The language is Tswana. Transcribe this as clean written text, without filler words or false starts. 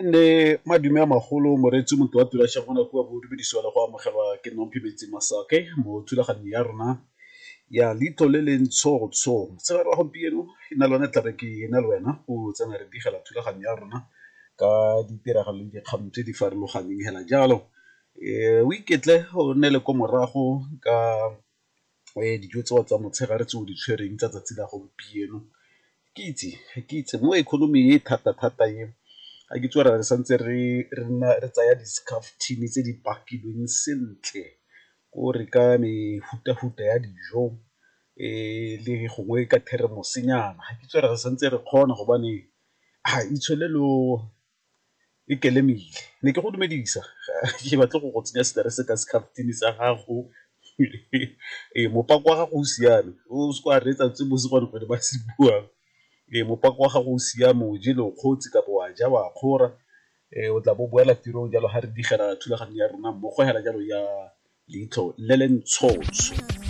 Ne madume a magolo moreetsi motho wa tula shagona kua bo dumedisiwa le go amogelwa ke Nomphimetse Masake mo thulaganyong ya rona ya Leitlho le le Ntshotsho. Motshegare wa gompieno e na le tlabe ke na le wena go tsena re digela thulaganyo ya rona ka ditiragalo le dikgang tse di farologaneng hela jalo. O iketle o nne le ko morago ka dijo tseo tsa motshegare tse o di tshwereng tsa tsatsi la gompieno. Ke itse mo economy e thata-thata e ga ke itse gore re santse re nna re tsaya di-scarftini tse di pakilweng sentle ko re ka mefuta-futa ya dijo le gongwe ka theremose-nyana, ga ke itse gore re santse re kgona gobane itsholelo e kelemile. Ne ke go dumedisa ga ke batle go go tsenya stress ka scarftini sa gago, ee mopako wa gago o siame o seke wa reetsa tse bo ba se buang, ee mopako wa gago o siame o jele o kgotse kapo wa ja wa kgora, o tla bo boela tirong jalo ga re digela thulaganyo ya rona mmogo hela jalo ya Leitlho le le Ntshotsho.